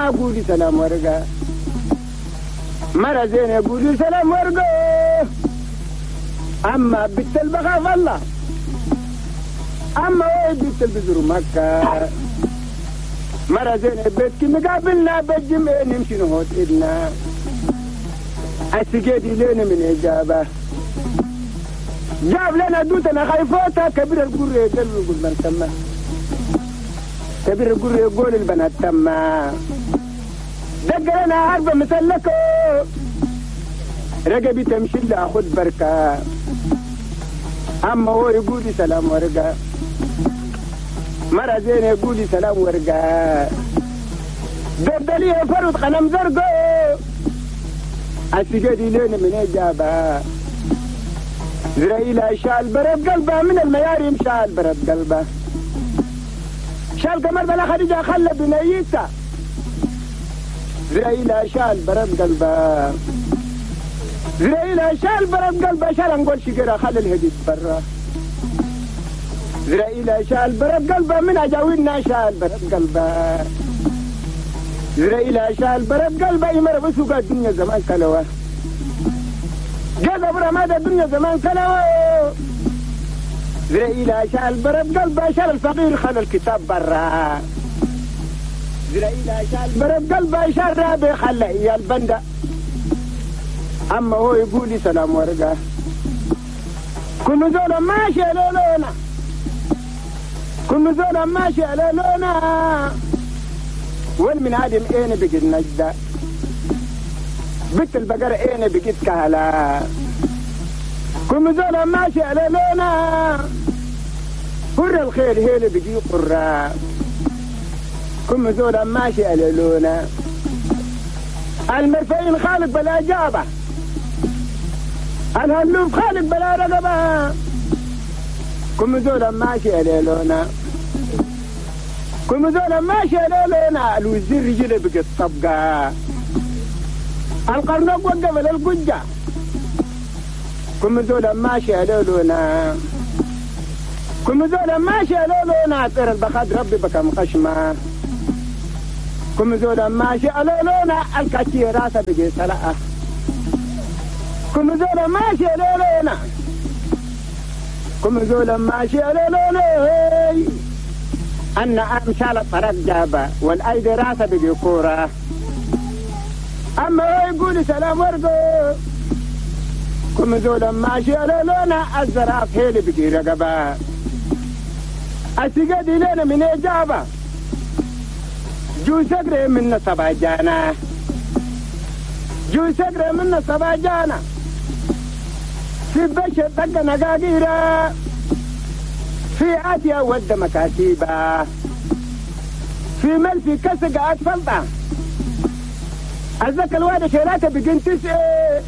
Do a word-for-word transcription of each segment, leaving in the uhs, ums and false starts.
أما قولي سلام ورقة مرة زينة قولي سلام ورقة أما بنت البخاف الله أما وين بنت البزر مكة مرة زينة بيتك مقابلنا بالجمع نمشي نهوت إدنا السجادي لنا من إجابة جاب لنا دوتنا خايفوتا كبير القرية يقول من تما كبير القرية يقول البنات تما دق لنا عربة مسلكة رقبي تمشي لأخذ بركة أما هو يقول لي سلام ورقة مرة زينة يقول لي سلام ورقة دردلي فرد غنم زرقاء السجادي لنا من إجابة زرائيل شال برد قلبه من المياريم شال برد قلبه شال قمر بلا خديجة خلى بنيته زرائيل شال برد قلبه زرائيل شال برد قلبه شال نقول شجرة خلى الهديد برا زرائيل شال برد قلبه من أجاوينا شال برد قلبه زرائيل شال برد قلبه يمر بسوق الدنيا زمان كلوه جذب رماد الدنيا زمان كلوه زرائيل شال برد قلبه شال الفقير خلى الكتاب برا زرائيل شال برد قلبه شال رابي خلى إياه البندة أما هو يقول لي سلام ورقة كل زول ماشي على لونا كل زول ماشي على لونا والمن عادم اين بقيت نجدة بنت البقرة اين بقيت كهلا كل زول ماشي على لونا قر الخير هيل بقي قرة كل زول ماشي على لونا المرفعين خالق بلا جابة الهلوف خالق بلا رقبة كل زول ماشي على لونا كل زول ماشي على لونا الوزير رجله بقت طبقة القرنق وقف للقجة كل زول ماشي على لونا كل زول ماشي على لونا طير البخاد ربي بكم خشمة كل زول ماشي على لونا الكاتي راسه بقي سلقة كل زول ماشي على لونا كل زول ماشي على لونا أن أمشال الطرق جابة والأيدي راسه بقي كورة أما هو يقول سلام ورقه كل زول ماشي على لونا الزراف هيلي بقي رقبة السجادي لنا من إجابة جو سقري من سبع جانا جو سقري من سبع جانا في بشر طق نقاقيرة في عاتية ود مكاتيبة في مل في كسق أطفلطة الزكا الواد شيلاته بقين تسعة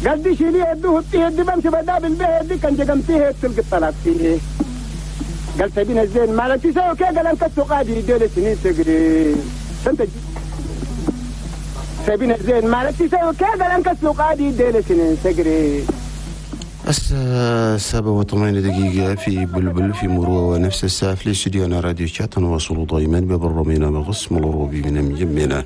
قال دي شيليه يدوه بتيه دي بمشي بداب البيه دي كان جقمتيه تلقى الطلاق فيه قال سبينا الزين مالك تساوي كي قال انك قادي ديل سنين تقري سنت سبينا الزين مالك تساوي كي قال انك قادي ديل سنين تقري. الساعة سبعة وثمانية دقيقة في بلبل في مروة ونفس الساعة في استديونا راديو شات نواصل دائما ببرنامجنا بغصم الروبي من مجمنا.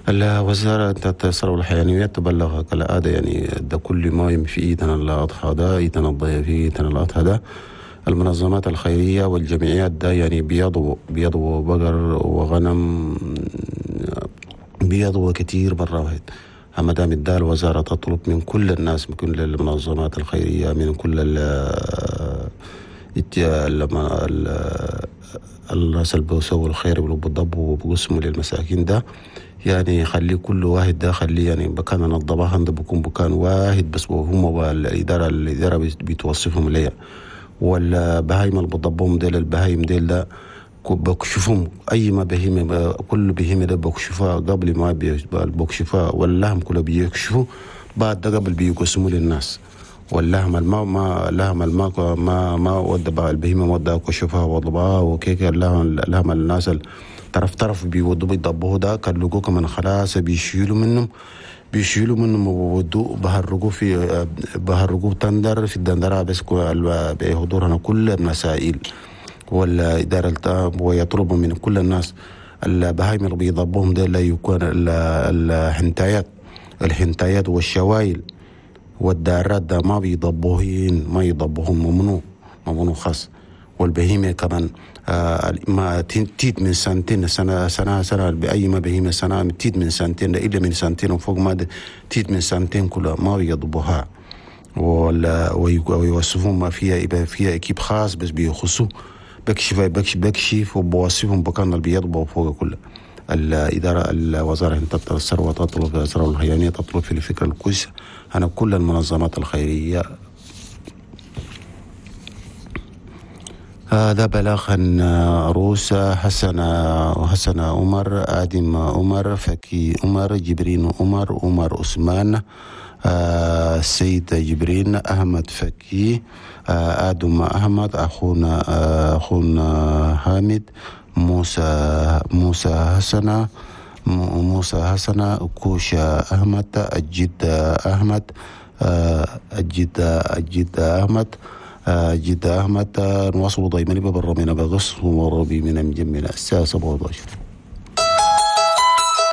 الوزارة الثروة الحيوانية تبلغ كالعادة يعني ده كل ما في إيدنا الأضحى ده إيدنا الضيافي إيدنا الأضحى ده المنظمات الخيرية والجمعيات ده يعني بيضوا بيضوا بقر وغنم بيضوا كتير مرة واحد. أما دام الدال الوزارة تطلب من كل الناس من كل المنظمات الخيرية من كل ال الناس اللي بيسووا الخير وبيضبوا وبيقسموا للمساكين ده يعني خلي كل واحد ده خليه يعني بكان نظبها ده بيكون بكان واحد بس وهم الإدارة الإدارة بتوصفهم ليا والبهايم اللي بضبهم ديل البهايم ديل ده بكشفهم اي ما بهيمه كل بهيمه ده بكشفها قبل ما بكشفها واللحم كله بيكشفوا بعد ده قبل بيقسموا للناس واللحم الماء ما لحم الماء ما ما ودى البهيمه ودى كشفها وضبها وكيك اللحم اللحم الناس طرف طرف بيودوا بيضبوه ده كان كمان خلاص بيشيلوا منهم بيشيلوا منهم وودوا بهرجوا في بهرجوا تندر في الدندره بس بحضورنا كل المسائل والإدارة ويطلب من كل الناس البهايم اللي بيضبوهم ده لا يكون الحنتايات الحنتايات والشوايل والدارات ده ما بيضبوهن، ما يضبوهم، ممنوع ممنوع خاص. والبهيمة كمان آه ما تيت من سنتين سنة سنة سنة بأي ما بهيمة سنة تيت من سنتين إلا من سنتين وفوق ما تيت من سنتين كلها ما بيضبوها، ولا ويوصفون ما فيها، يبقى فيها équipe خاص بس بيخصوا بكشف بكشف بكشف وبوصفهم بكان اللي بيضبوا فوق كله. الإدارة الوزارة تطلب الثروة تطلب الثروة الحيوانية تطلب في الفكرة الكويسة أنا كل المنظمات الخيرية. هذا بلاغ روس حسن حسن عمر، آدم عمر، فكي عمر، جبرين عمر، عمر عثمان، السيد جبرين، أحمد فكي، آدم أحمد، أخونا أخونا حامد، موسى موسى حسن، موسى حسن، كوشا أحمد، الجد أحمد، الجد الجد أحمد، جد أحمد. نواصل ضيمني ببرمينا بغص وربي من مجمنا الساعة سبعة عشر.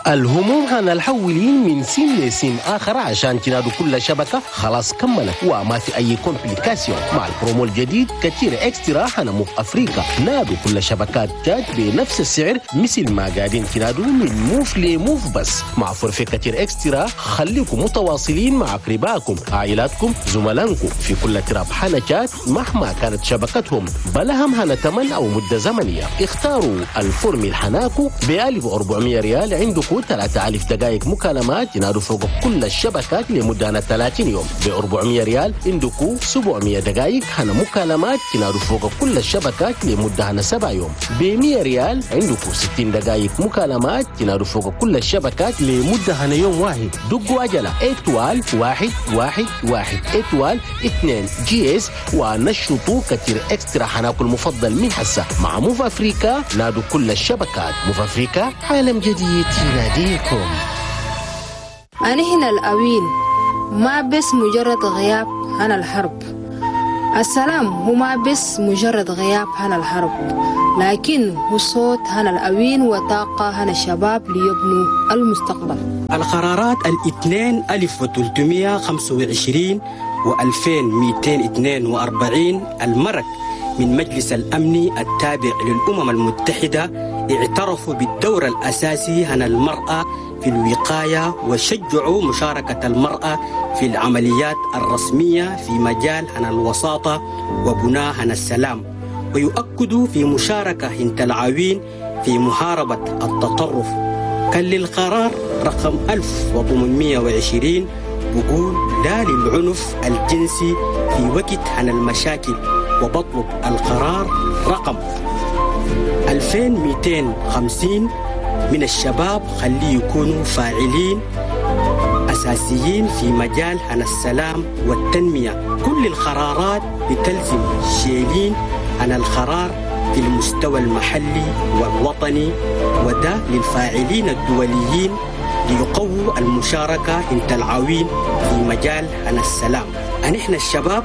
الهموم هنا الحولين من سين لسين آخر عشان تنادوا كل شبكة خلاص كملت وما في أي complication. مع البرومو الجديد كتير Extra هنا موف أفريقيا، نادوا كل شبكات تاج بنفس السعر مثل ما قاعدين تنادوا من موف لموف بس. مع forfait كتير Extra خليكم متواصلين مع أقربائكم، عائلاتكم، زملائكم في كل تراب حنا تشاد مهما كانت شبكتهم، بلهم هنا تمن أو مدة زمنية. اختاروا ال formule حناكو ب ألف وأربعمية ريال عندكم ثلاثة آلاف دقائق مكالمات ينادوا فوق كل الشبكات لمدة ثلاثين يوم. ب أربعمية ريال عندكم سبعمية دقائق هنا مكالمات ينادوا فوق كل الشبكات لمدة سبع يوم. ب مية ريال عندكم ستين دقائق مكالمات ينادوا فوق كل الشبكات لمدة هنا يوم واحد. دقوا عجلة étoile واحد واحد واحد étoile اثنين dièse ونشطوا كتير Extra حناكل المفضل من حسة مع موف أفريكا. نادوا كل الشبكات. موف أفريكا، عالم جديد يناديكم. أنا هنا الأوين ما بس مجرد غياب عن الحرب. السلام هو ما بس مجرد غياب عن الحرب، لكن هو صوت عن الأوين وطاقة عن الشباب ليبنوا المستقبل. القرارات الاثنين ألف وثلاثمية وخمسة وعشرين وألفين ومئتين واثنين وأربعين المرك من مجلس الأمن التابع للأمم المتحدة اعترفوا بالدور الأساسي عن المرأة في الوقاية وشجعوا مشاركة المرأة في العمليات الرسمية في مجال عن الوساطة وبناء عن السلام، ويؤكدوا في مشاركة هنت العوين في محاربة التطرف. كان للقرار رقم ألف وثمانمية وعشرين بقول لا للعنف الجنسي في وقت عن المشاكل، وبطلب القرار رقم ألفين ومئتين وخمسين من الشباب خليه يكونوا فاعلين أساسيين في مجال عن السلام والتنمية. كل القرارات بتلزم شيلين عن القرار في المستوى المحلي والوطني، وده للفاعلين الدوليين ليقووا المشاركة انت العوين في مجال عن السلام. نحن الشباب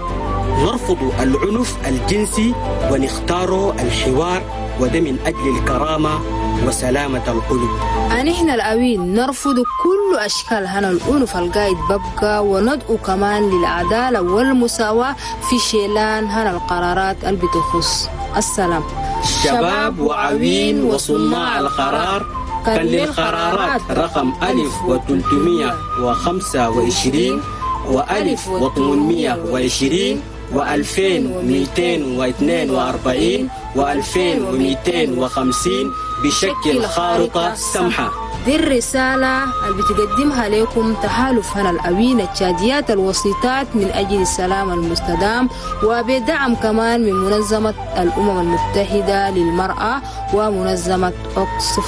نرفض العنف الجنسي ونختار الحوار، وده من أجل الكرامة وسلامة القلوب. نحن الأوين نرفض كل أشكال هنا العنف القايد ببقى، وندعو كمان للعدالة والمساواة في شيلان هنا القرارات اللي بتخص السلام. شباب وعوين وصناع القرار، كان للقرارات رقم ألف وثلاثمية وخمسة وعشرين وألف وثمانمية وعشرين وألفين ومئتين واثنين وأربعين وألفين ومئتين وخمسين بشكل خارطة سمحة. دي الرسالة اللي بتقدمها لكم تحالف هنا الأوين التشاديات الوسيطات من أجل السلام المستدام، وبدعم كمان من منظمة الأمم المتحدة للمرأة ومنظمة أوكسفام.